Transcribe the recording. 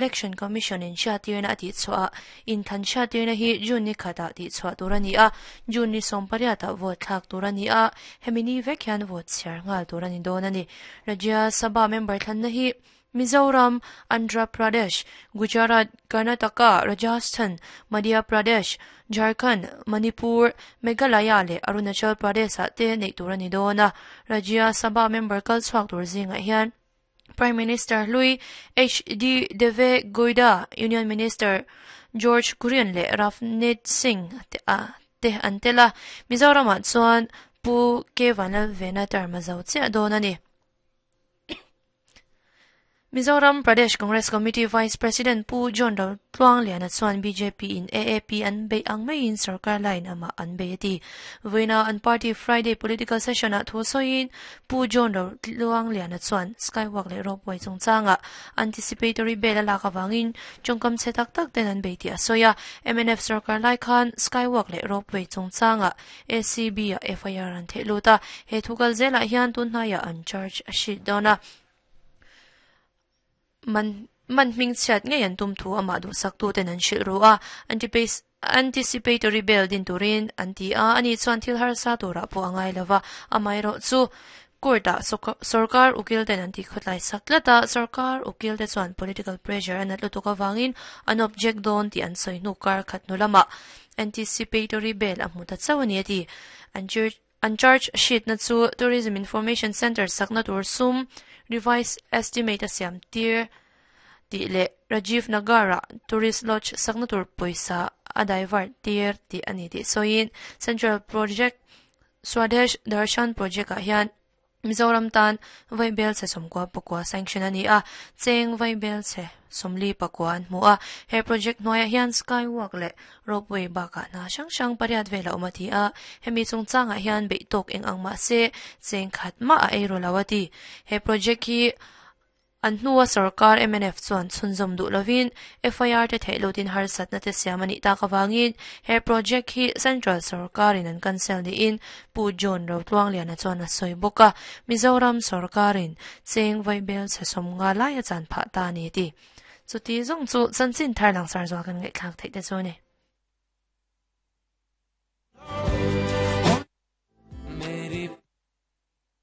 Election Commission in hriattirna a tihchhuah ah inthlan hriattirna hi June ni khatah tihchhuah tur a ni a, June ni 18 ah vote thlak tur a ni a, hemi ni vek hian vote chhiar nghal tur a ni dawn a ni. Rajya Sabha member thlanna hi Mizoram, Andhra Pradesh, Gujarat, Karnataka, Rajasthan, Madhya Pradesh, Jharkhand, Manipur, Meghalaya leh Arunachal Pradesh ah te neih tur a ni dawn a, Rajya Sabha member kal chhuak tur zingah hian Prime Minister hlui HD Deve Gowda, Union Minister George Kurian leh Ravneet Singh te a te an tel a, Mizoramah chuan Pu K Vanlalvena term a zo chiah dawn a ni. Mizoram Pradesh Congress Committee Vice President Pu John Rotluangliana chuan bjp in AAP an beih ang maiin sorkar laiin amah an bei a ti. Vawiina an party Friday political session-ah thu sawiin Pu John Rotluangliana chuan Skywalk leh Ropeway chungchangah anticipatory bail a lak avangin tawngkam chhe tak tak ten an bei tih a sawi a. Mnf sorkar lai khan Skywalk leh Ropeway chungchangah ACB-ah FIR an theih lut a, he thu kal zelah hian tun hnaiah an charge a hrilh dawn a. Man man hming chhiat ngei an tum thu amah duhsaktuten an hrilh ru a, anticipatory bail din turin an ti a, ani chuan thil harsa turah pawh a ngai lo va, amaherawh chu court-ah sorkar ukil ten an tihkhawtlai sak tlat a, sorkar ukil te chuan political pressure a nat lutuk avangin an object dawn tih an sawi hnu kar khat hnu lamah anticipatory bail a hmu ta chauh a ni a ti. An An charge sheet-na chu Tourism Information Centre sakna tur sum revised estimate a siam tir tih leh Rajiv Nagar-ah Tourist Lodge sakna tur pawisa a divert tir tih a ni tih sawiin Central Project Swadesh Darshan Project-ah hian Mizoram tan vaibel chhe 94 sanction a ni a, cheng vaibel chhe 44 an hmu a. He project hnuaiah hian skywalk leh ropeway bakah hna hrang hrang pariat vel a awm a ti a, hemi chungchangah hian beih tawk eng ang mah se cheng khat mah a ei ru lo a ti. He project hi An hnua sorkar mnf chuan chhunzawm duh lovin FIR te theih lutin harsatna te siam a nih tak avangin he project hi Central sorkarin an cancel niin Pu John Rotluangliana chuan a sawi bawk a, Mizoram sorkarin cheng vaibel chhe 50 lai a chan phah ta a ni a ti. Chuti zawng chu chanchin thar langsar zual kan ngaihthlak theih te chu a ni.